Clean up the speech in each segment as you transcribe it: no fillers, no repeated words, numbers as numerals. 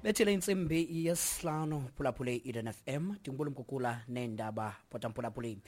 Bethile intsimbi yesihlanu, phulaphule i-Eden FM, ndinguBulu Mkukula neendaba potamphulaphuli.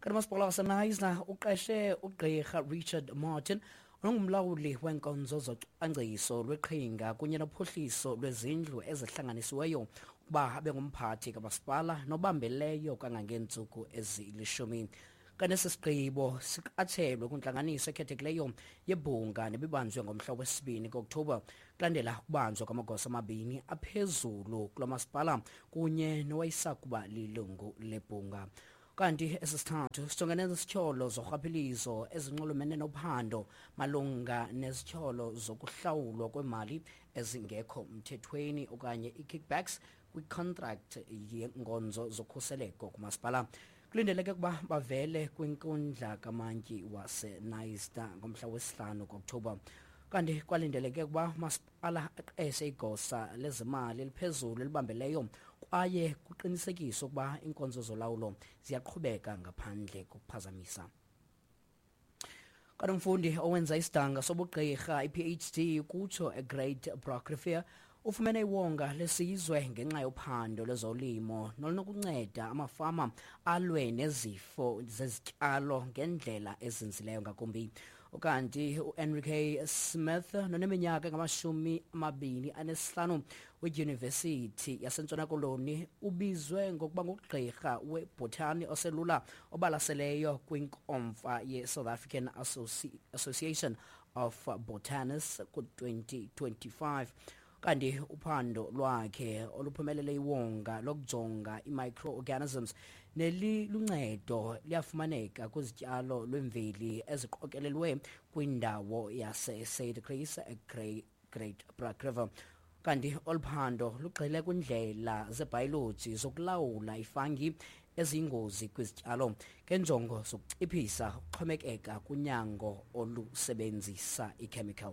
Kanti umasipala waseNayisna uqeshe ugqirha Richard Martin onongumlawuli weenkonzo zocwangciso lweqhinga kunye nophuhliso lwezindlu ezihlanganisiweyo ukuba abe ngumphathi kamasipala nobambeleyo kangangeentsuku ezilishumi. Kanti esi sigqibo siqatshelwe kwintlanganiso ekhethekileyo yebhunga nebibanjwe ngomhla wesibini kuOkthobha kulandela ukubanjwa kwamagosa amabini aphezulu kulo masipala kunye nowayesakuba lilungu lebhunga. Kanti esi sithathu sijongene nezityholo zorhwaphilizo ezinxulumene nophando malunga nezityholo zokuhlawulwa kwemali ezingekho mthethweni okanye i-kickbacks kwicontract yenkonzo zokhuseleko kumasipala. Kulindeleke ukuba bavele kwinkundla kamantyi waseNayista ngomhla wesihlanu kuOkthobha. Kanti kwalindeleke ukuba umasipala aqeshe igosa lezimali eliphezulu elibambeleyo kwaye kuqinisekiswe ukuba iinkonzo zolawulo ziyaqhubeka ngaphandle kokuphazamisa. Kanti umfundi owenza isidanga sobugqirha i-PhD kutsho eGreat Brak Rivier ufumene iwonga lesizwe ngenxa yophando lwezolimo nolunokunceda amafama alwe nezifo zezityalo ngendlela ezinzileyo ngakumbi. Ukanti uEnrique Smith noneminyaka engama-25 weDyunivesithi yaseNtshona Koloni ubizwe ngokuba ngugqirha webhotani oselula obalaseleyo kwinkomfa ye-South African Association of Botanists ku-2025. Kanti uphando lwakhe oluphumelele iwonga lokujonga i-microorganisms neliluncedo liyafumaneka kwizityalo lwemveli eziqokelelwe kwindawo yase-Suidekruis eGreat Brak River. Kanti olu phando lugxile kwindlela zebhayoloji zokulawula ifangi eziyingozi kwizityalo ngenjongo zokuciphisa ukuxhomekeka kunyango olusebenzisa ichemical.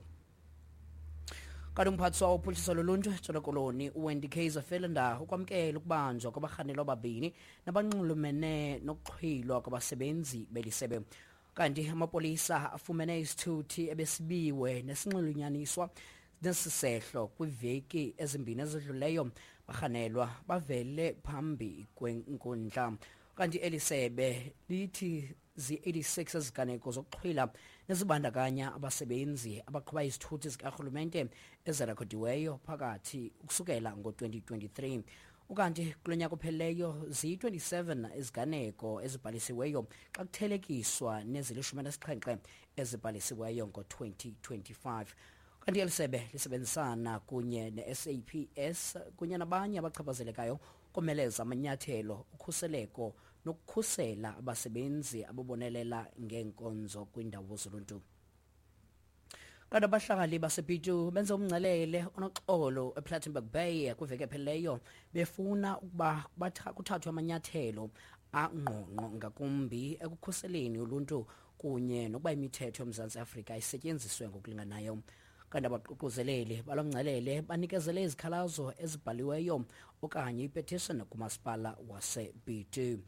Kanti umphathiswa wophuhliso loluntu eNtshona Koloni uWendy Kaiser Philander ukwamkela ukubanjwa kwabarhanelwa ababini nabanxulumene nokuxhwilwa kwabasebenzi belisebe. Kanti amapolisa afumene isithuthi ebesibiwe nesinxulunyaniswa nesisehlo kwiveki ezimbini ezidluleyo. Barhanelwa bavele phambi kwenkundla. Kanti eli sebe lithi zi-86 eziganeko zokuxhwila nezibandakanya abasebenzi abaqhuba izithuthi zikarhulumente ezirekhodiweyo phakathi ukusukela ngo-2023. Ukanti kulo nyaka uphelileyo ziyi-27 iziganeko ezibhalisiweyo xa kuthelekiswa nezili-17 ezibhalisiweyo ngo-2025. Kanti eli sebe lisebenzisana kunye ne-SAPS kunye nabanye abachaphazelekayo komeleza amanyathelo ukhuseleko nokukhusela abasebenzi ababonelela ngeenkonzo kwiindawo zoluntu. Kanti abahlali basePitu benze umngcelele onoxolo ePlattenberg Bay kwiveki ephelileyo befuna ukuba kuthathwe amanyathelo angqongqo ngakumbi ekukhuseleni uluntu kunye nokuba imithetho yoMzantsi Afrika isetyenziswe ngokulinganayo. Kanti abaququzeleli balo mngcelele banikezele izikhalazo ezibhaliweyo okanye ipetition kumasipala waseBitu.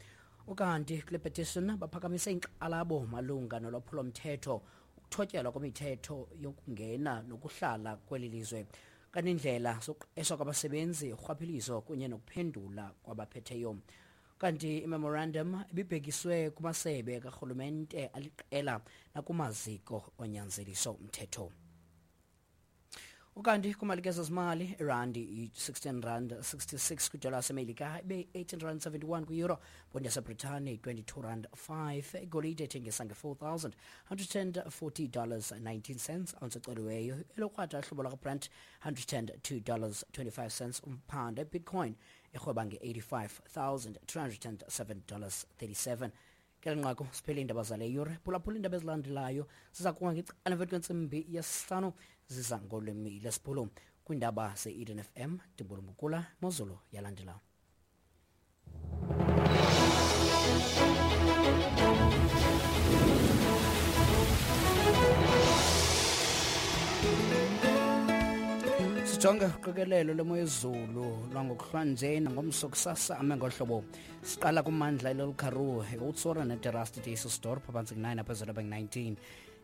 Ukanti kule petition baphakamise inkxalabo malunga nolwaphulomthetho, ukuthotyelwa kwemithetho yokungena nokuhlala kweli lizwe, kanti indlela zokuqeshwa kwabasebenzi, urhwaphilizo kunye nokuphendula kwabaphetheyo. Kanti imemorandum ibibhekiswe kumasebe karhulumente aliqela nakumaziko onyanzeliso umthetho. Ukanti kumalike zezimali, irandi yi-16 rand 66 kwidola yaseMelika, ibe 18 rand 71 kwi-euro, bond yaseBritane 22 rand 5, igolide ethengisa nge-$4,140 19 cents ounce eceliweyo, elokrwada hlobo lwakwaBrent $102 25 cents umphanda, bitcoin irhweba nge-$85,207 37. Ke nqaku siphele iindaba zale yure. Phulaphula iindaba ezilandelayo ziza kuwa ngecala emveni kwentsimbi yesihlanu, ziza ngolwimi lesiBhulu. Kwiindaba ze-Eden FM, ndibulumkula mozulu yalandela. Sijonge uqikelelo lemo yezulu lwangokuhlwanje nangomso kusasa ame ngohlobo. Siqala kumandla eLelkaroo, eOudtshoorn neDerasti Dysselsdorp phantsi ku-9, aphezulu abe 19.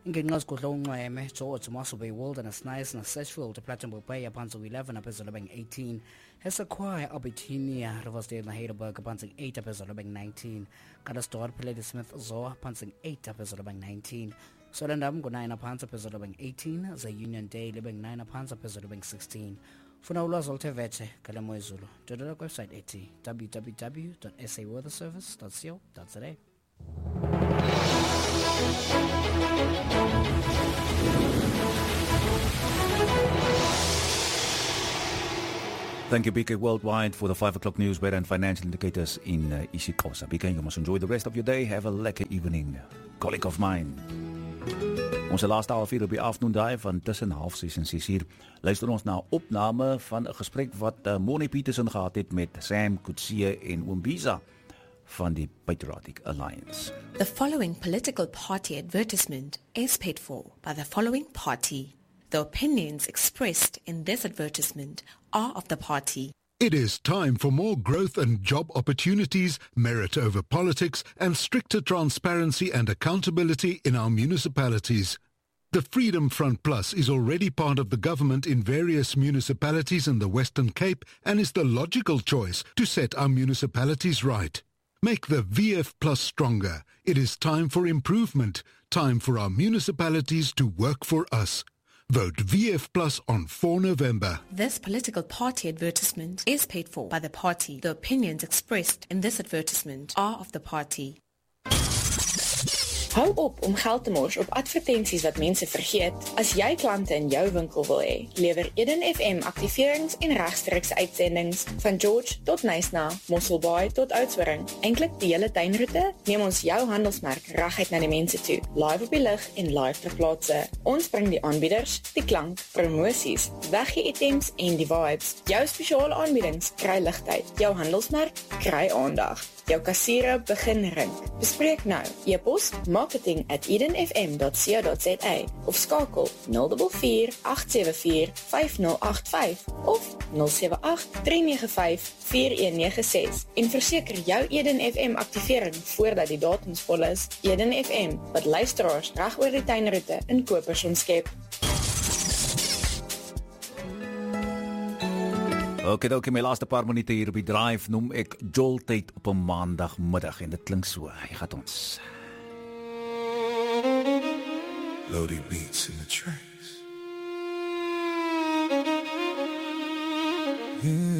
Ingingqi ezigudle unxweme, George, Mossel Bay, Wilderness, Nice naseSheffield, Plettenberg Bay aphantsi kwi-11 aphezulu bengu-18. Esekhwaya, Albertinia, Riversdale naHeidelberg aphantsi ku-8 aphezulu bengu-19. Calitzdorp, Ladysmith, Zoa aphantsi ku-8 aphezulu bengu-19. Swellendam ngu-9 aphantsi aphezulu bengu-18, ze Uniondale ibe ngu-9 aphantsi aphezulu bengu-16. Funa ulwazi oluthe vetshe ngale mo yezulu, ndwendwela kwiwebsite ethi www.saweatherservice.co.za. Thank you, BK Worldwide, for the 5 o'clock news, weather and financial indicators in isiXhosa. BK, you must enjoy the rest of your day. Have a lekker evening. Colleague of mine. Ons laaste halfuur op die afternoon drive van tussen 5:30 en 6 uur. Luister ons na 'n opname van 'n gesprek wat Moni Petersen gehad het met Sam Coetzee en Oom Biza van die Patriotic Alliance. The following political party advertisement is paid for by the following party. The opinions expressed in this advertisement are of the party. It is time for more growth and job opportunities, merit over politics, and stricter transparency and accountability in our municipalities. The Freedom Front Plus is already part of the government in various municipalities in the Western Cape and is the logical choice to set our municipalities right. Make the VF Plus stronger. It is time for improvement, time for our municipalities to work for us. Vote VF Plus on 4 November. This political party advertisement is paid for by the party. The opinions expressed in this advertisement are of the party. Hou op om geld te mors op advertensies wat mense vergeet. As jy klante in jou winkel wil hê, lewer Eden FM aktiverings en regstreekse uitsendings van George tot Knysna, Mossel Bay tot Oudtshoorn. Eintlik die hele tuinroete, neem ons jou handelsmerk reguit na die mense toe, live op die lug en live ter plaatse. Ons bring die aanbieders, die klank, promosies, weggee-items en die vibes. Jou spesiale aanbiedings kry ligtyd. Jou handelsmerk kry aandag. Jou kassiere begin rink. Bespreek nou. E-pos marketing@edenfm.co.za of skakel 044 874 5085 of 078 395 4196 en verseker jou Eden FM aktivering voordat die datums vol is. Eden FM, wat luisteraars reg oor die tuinroete in kopers omskep. Oké, my laaste paar minute hier op die drive noem ek Joltyd op 'n maandagmiddag en dit klink so. Hy gaan ons. Lodi beats in the tracks. Yeah.